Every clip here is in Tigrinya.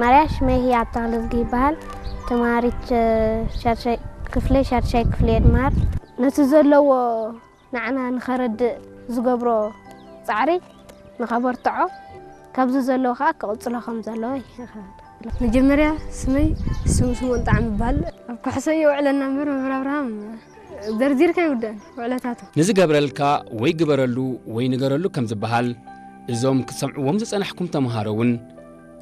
ማርያ ሽመይ ህያብ ተኽለዝጊ ይበሃል። ተማሃሪት ሸርሻይ ክፍሊ፣ ሸርሻይ ክፍሊ እየ ድመሃር። ነቲ ዘለዎ ንዓና ንኸረድእ ዝገብሮ ጻዕሪ ንኸበርትዖ፣ ካብዚ ዘለዎ ከኣ ክቕጽሎ ከም ዘለዎ ይኸ- መጀመርያ ስመይ ስም ስምኦን ጣዕም ይበሃል። ኣብ ኩሕሶ እየ ውዕለና እምበር መምህር ኣብርሃም ዘርዚርካ ይውደን ውዕለታቱ። ንዝገብረልካ ወይ ግበረሉ ወይ ንገረሉ ከም ዝበሃል፣ እዞም ክትሰምዕዎም ዝጸናሕኩም ተምሃሮ እውን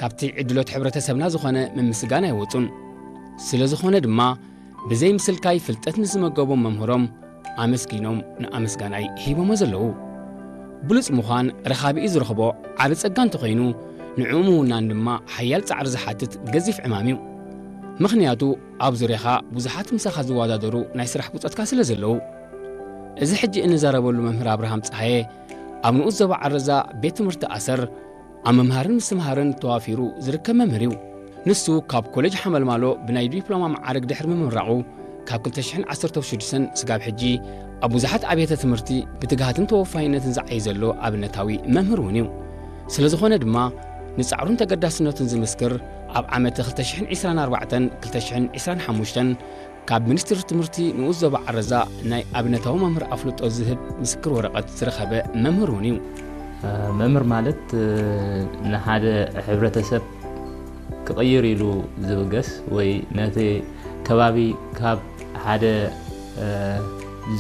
ካብቲ ዕድሎት ሕብረተሰብና ዝኾነ ምምስጋን ኣይወጹን። ስለ ዝኾነ ድማ ብዘይ ምስልካይ ፍልጠት ንዝመገቦም መምህሮም ኣመስጊኖም ንኣመስጋናይ ሂቦሞ ዘለዉ። ብሉጽ ምዃን ረኻቢኡ ዝረኽቦ ዓቢ ጸጋ እንተኾይኑ፣ ንዕኡ ምውናን ድማ ሓያል ጻዕሪ ዝሓትት ገዚፍ ዕማም እዩ። ምኽንያቱ ኣብ ዙርያኻ ብዙሓት ምሳኻ ዝወዳደሩ ናይ ስራሕ ብጾትካ ስለ ዘለዉ። እዚ ሕጂ እንዛረበሉ መምህር ኣብርሃም ጸሃየ ኣብ ንኡስ ዞባ ዓረዛ ቤት ትምህርቲ ኣሰር ኣብ ምምሃርን ምስትምሃርን ተዋፊሩ ዝርከብ መምህር እዩ። ንሱ ካብ ኮሌጅ ሓመልማሎ ብናይ ዲፕሎማ መዓርግ ድሕሪ ምምራቑ፣ ካብ ክልተ ሽሕን ዓሰርተ ሽዱሽተን ስጋብ ሕጂ ኣብ ብዙሓት ኣብያተ ትምህርቲ ብትግሃትን ተወፋይነትን ዝዓዪ ዘሎ ኣብነታዊ መምህር እውን እዩ። ስለ ዝኾነ ድማ ንጻዕሩን ተገዳስነቱን ዝምስክር ኣብ ዓመተ ክልተ ሽሕን ዕስራን ኣርባዕተን ክልተ ሽሕን ዕስራን ሓሙሽተን ካብ ሚኒስትሪ ትምህርቲ ንኡስ ዞባ ዓረዛ ናይ ኣብነታዊ መምህር ኣፍልጦ ዝህብ ምስክር ወረቐት ዝረኸበ መምህር እውን እዩ። መምህር ማለት ንሓደ ሕብረተሰብ ክቕይር ኢሉ ዝብገስ ወይ ነቲ ከባቢ ካብ ሓደ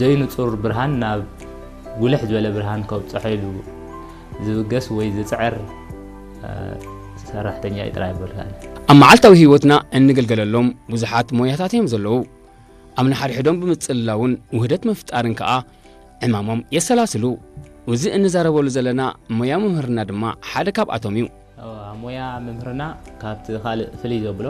ዘይንጹር ብርሃን ናብ ጉልሕ ዝበለ ብርሃን ከብጽሖ ኢሉ ዝብገስ ወይ ዝጽዕር ሰራሕተኛ እዩ ጥራይ ይበልካ። ኣብ መዓልታዊ ህይወትና እንግልገለሎም ብዙሓት ሞያታት እዮም ዘለዉ። ኣብ ንሓድሕዶም ብምጽልላውን ውህደት ምፍጣርን ከኣ ዕማሞም የሰላስሉ። እዚ እንዛረበሉ ዘለና ሞያ ምምህርና ድማ ሓደ ካብኣቶም እዩ። ኣብ ሞያ ምምህርና ካብቲ ካልእ ፍልይ ዘብሎ፣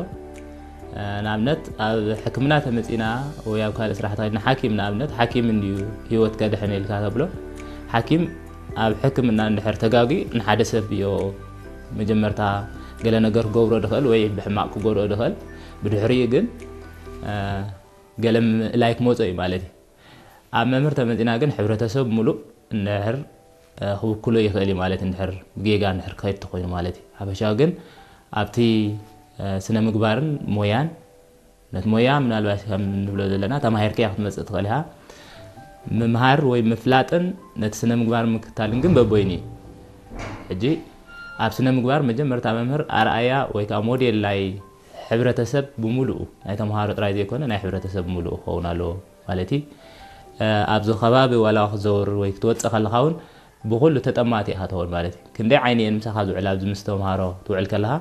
ንኣብነት ኣብ ሕክምና ተመጺና ወይ ኣብ ካልእ ስራሕቲ ከድና ሓኪም ንኣብነት ሓኪም እንድዩ ህይወት ከድሕን ኢልካ ተብሎ። ሓኪም ኣብ ሕክምና እንድሕር ተጋጊ ንሓደ ሰብ እዮ መጀመርታ ገለ ነገር ክገብሮ ድኽእል ወይ ብሕማቕ ክጎድኦ ድኽእል። ብድሕሪኡ ግን ገለ ምእላይ ክመጾ እዩ ማለት እዩ። ኣብ መምህር ተመጺና ግን ሕብረተሰብ ሙሉእ እንድሕር ክውክሎ ይኽእል እዩ ማለት እንድሕር ብጌጋ እንድሕር ክኸይድ ተኾይኑ ማለት እዩ። ሓፈሻዊ ግን ኣብቲ ስነ ምግባርን ሞያን ነቲ ሞያ ምናልባት ከም ንብሎ ዘለና ተማሂርካያ ክትመጽእ ትኽእል ኢኻ። ምምሃር ወይ ምፍላጥን ነቲ ስነ ምግባር ምክታልን ግን በቦይኑ እዩ። ሕጂ ኣብ ስነ ምግባር መጀመርታ መምህር ኣርኣያ ወይ ከዓ ሞዴል ናይ ሕብረተሰብ ብምሉኡ ናይ ተምሃሮ ጥራይ ዘይኮነ ናይ ሕብረተሰብ ብምሉኡ ክኸውን ኣለዎ ማለት እዩ። ኣብዚ ከባቢ ዋላ ክትዘውር ወይ ክትወፅእ ከለኻ እውን ብኩሉ ተጠማቲ ኢኻ ትኸውን ማለት እዩ። ክንደይ ዓይኒ እየን ምሳኻ ዝውዕላ ኣብዚ ምስ ተምሃሮ ትውዕል ከለኻ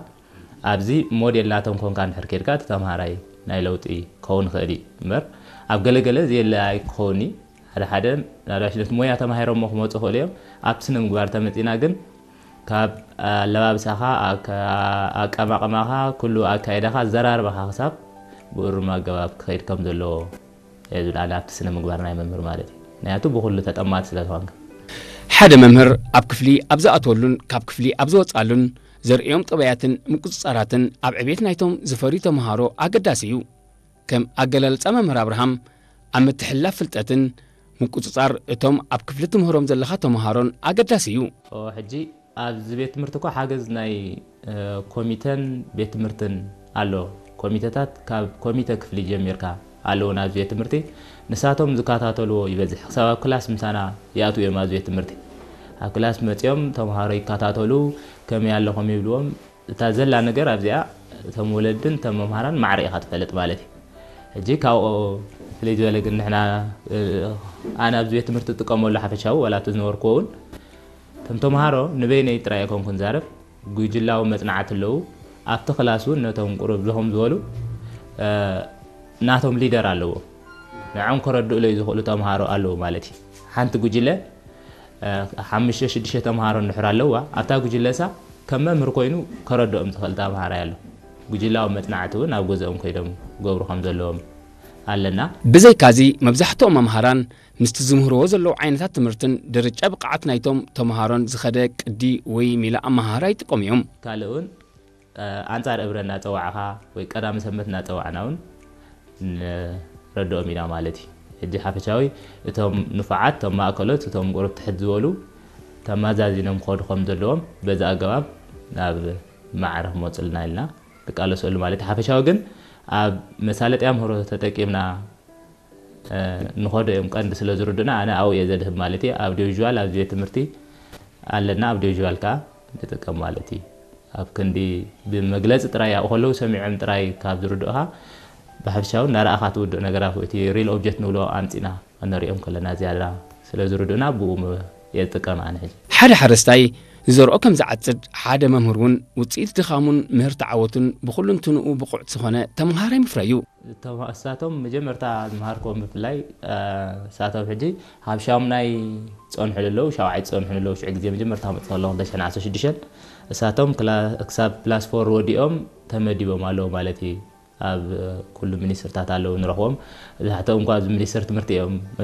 ኣብዚ ሞዴል ናቶም ኮንካ እንድሕር ኬድካ እቲ ተምሃራይ ናይ ለውጢ ክኸውን ይኽእል እዩ እምበር ኣብ ገለገለ ዘየለ ኣይክኸውን እዩ። ሓደ ሓደ ምናልባሽ ነቲ ሞያ ተማሂሮሞ ክመፁ ይኽእሉ እዮም። ኣብቲ ስነ ምግባር ተመፂና ግን ካብ ኣለባብሳኻ ኣቀማቕማኻ ኩሉ ኣካይዳኻ ኣዘራርባኻ ክሳብ ብእሩም ኣገባብ ክኸይድ ከም ዘለዎ እየ ዝብል ኣነ ኣብቲ ስነ ምግባር ናይ መምህር ማለት እዩ። ምክንያቱ ብኩሉ ተጠማት ስለ ዝኾንካ። ሓደ መምህር ኣብ ክፍሊ ኣብ ዝኣትወሉን ካብ ክፍሊ ኣብ ዝወፅኣሉን ዘርእዮም ጠባያትን ምቁፅፃራትን ኣብ ዕቤት ናይቶም ዝፈርዩ ተምሃሮ ኣገዳሲ እዩ። ከም ኣገላልፃ መምህር ኣብርሃም ኣብ ምትሕልላፍ ፍልጠትን ምቁፅፃር እቶም ኣብ ክፍሊ ትምህሮም ዘለኻ ተምሃሮን ኣገዳሲ እዩ። ሕጂ ኣብዚ ቤት ትምህርቲ እኮ ሓገዝ ናይ ኮሚተን ቤት ትምህርትን ኣሎ። ኮሚተታት ካብ ኮሚተ ክፍሊ ጀሚርካ ኣለዉ ናብዚ ቤት ትምህርቲ። ንሳቶም ዝከታተልዎ ይበዝሕ። ክሳብ ኣብ ክላስ ምሳና ይኣትዉ እዮም ኣብዚ ቤት ትምህርቲ። ኣብ ክላስ መፂኦም ተምሃሮ ይከታተሉ፣ ከመይ ኣለኹም ይብልዎም። እታ ዘላ ነገር ኣብዚኣ እቶም ወለድን እቶም መምሃራን ማዕረ ኢኻ ትፈልጥ ማለት እዩ። ሕጂ ካብኡ ፍልይ ዝበለ ግን ንሕና ኣነ ኣብዚ ቤት ትምህርቲ ዝጥቀመሉ ሓፈሻዊ ዋላ እቲ ዝነበርኩዎ እውን እቶም ተምሃሮ ንበይነይ ጥራይ ኣይኮንኩን ዛረብ፣ ጉጅላዊ መጽናዕቲ ኣለዉ። ኣብቲ ክላስ እውን ነቶም ቁሩብ ዝኹም ዝበሉ ናቶም ሊደር ኣለዎ። ንዕኦም ከረድእለይ ዝኽእሉ ተምሃሮ ኣለዉ ማለት እዩ። ሓንቲ ጉጅለ ሓሙሽተ ሽዱሽተ ተምሃሮ እንድሕር ኣለዋ ኣብታ ጉጅለሳ ከም መምህር ኮይኑ ከረድኦም ዝኽእል ተምሃራይ ኣሎ። ጉጅላዊ መጽናዕቲ እውን ኣብ ገዝኦም ኮይዶም ክገብሩ ከም ዘለዎም ኣለና። ብዘይካዚ መብዛሕትኦም መምሃራን ምስቲ ዝምህርዎ ዘለዉ ዓይነታት ትምህርትን ደረጃ ብቕዓት ናይቶም ተምሃሮን ዝኸደ ቅዲ ወይ ሜላ ኣመሃህራ ይጥቀሙ እዮም። ካልእ እውን ኣንጻር እብረ እናጸዋዕኻ ወይ ቀዳሚ ሰንበት እናጸዋዕና እውን ንረድኦም ኢና ማለት እዩ። ሕጂ ሓፈሻዊ እቶም ንፉዓት እቶም ማእከሎት እቶም ቁሩብ ትሕት ዝበሉ ተማዛዚኖም ክኸዱ ከም ዘለዎም በዚ ኣገባብ ናብ ማዕረ ክመፁልና ኢልና ንቃለሰሉ ማለት እዩ። ሓፈሻዊ ግን ኣብ መሳለጥያ ምህሮ ተጠቂምና ንኸዶ እዮም ቀንዲ ስለ ዝርዱና፣ ኣነ ኣብኡ እየ ዘድህብ ማለት እዩ። ኣብ ዲቪዥዋል ኣብዚ ቤት ትምህርቲ ኣለና፣ ኣብ ዲቪዥዋል ከዓ ንጥቀም ማለት እዩ። ኣብ ክንዲ ብመግለፂ ጥራይ ኣብኡ ከለዉ ሰሚዖም ጥራይ ካብ ዝርድኡኻ ብሓፈሻዊ እናረኣኻ ትውድእ ነገራት ወይ እቲ ሪል ኦብጀክት ንብሎ ኣምፂና እነሪኦም ከለና ዝያዳ ስለ ዝርድኡና ብኡ እየ ዝጥቀም ኣነ ሕጂ። ሓደ ሓረስታይ ዝዘርኦ ከም ዝዓፅድ፣ ሓደ መምህር እውን ውፅኢት ድኻሙን ምህርቲ ዓወቱን ብኹሉንትንኡ ብቑዕ ዝኾነ ተምሃራይ ምፍራይ እዩ። እሳቶም መጀመርታ ዝመሃርክዎም ብፍላይ እሳቶም ሕጂ ካብ ሻሙናይ ዝፀንሑ ኣለዉ፣ ሻውዓይ ዝፀንሑ ኣለዉ። ሽዑ ግዜ መጀመርታ መፅእ ከለኹ ክልተ ሽሕን ዓሰርተ ሽዱሽተን እሳቶም ክሳብ ፕላስ ፎር ወዲኦም ተመዲቦም ኣለዉ ማለት እዩ። ኣብ ኩሉ ሚኒስትርታት ኣለዉ ንረኽቦም። ብዛሕትኦም እንኳ ኣብዚ ሚኒስትር ትምህርቲ እዮም